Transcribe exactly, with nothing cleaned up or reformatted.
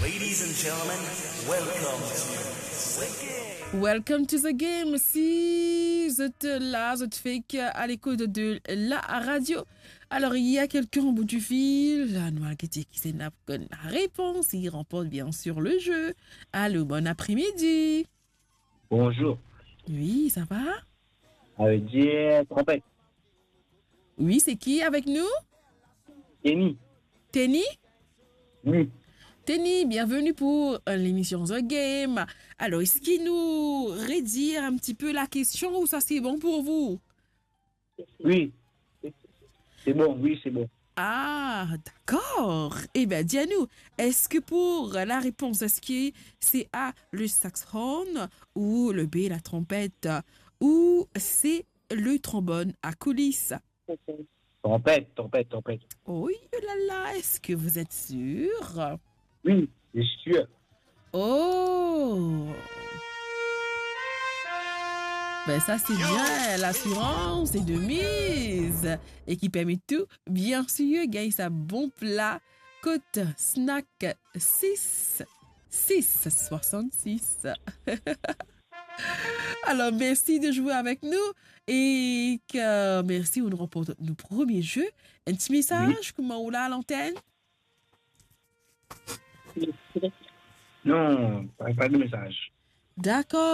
Ladies and gentlemen, welcome to the game. Welcome to the game. Si zot la, zot fek a lekout de la radio, alors il y a quelqu'un au bout du fil. Nou al gete kisannla pou konn larepons, il remporte bien sûr le jeu. Allô, bon après-midi. Bonjour. Oui, ça va? Avec Dieu, trompette. Oui, c'est qui avec nous? Kenny. Kenny? Oui. Kenny, bienvenue pour, euh, l'émission The Game. Alors, est-ce que nous redire un petit peu la question ou ça c'est bon pour vous? Oui. C'est bon, oui, c'est bon. Ah, d'accord. Eh bien, dis-nous, est-ce que pour la réponse, est-ce que c'est A, le saxophone, ou le B, la trompette, ou C, le trombone à coulisses? Trompette, trompette, trompette. Oh là là, est-ce que vous êtes sûr? Oui, c'est sûr. Oh! Ben ça c'est bien, l'assurance est de mise et qui permet tout, bien sûr, gagner sa bon pla kot Snack six, six soixante-six. Alors, merci de jouer avec nous et que merci, on remporte notre premier jeu. Un petit message, oui, kouma ou la à l'antenne? Non, pas, pas de message. D'accord,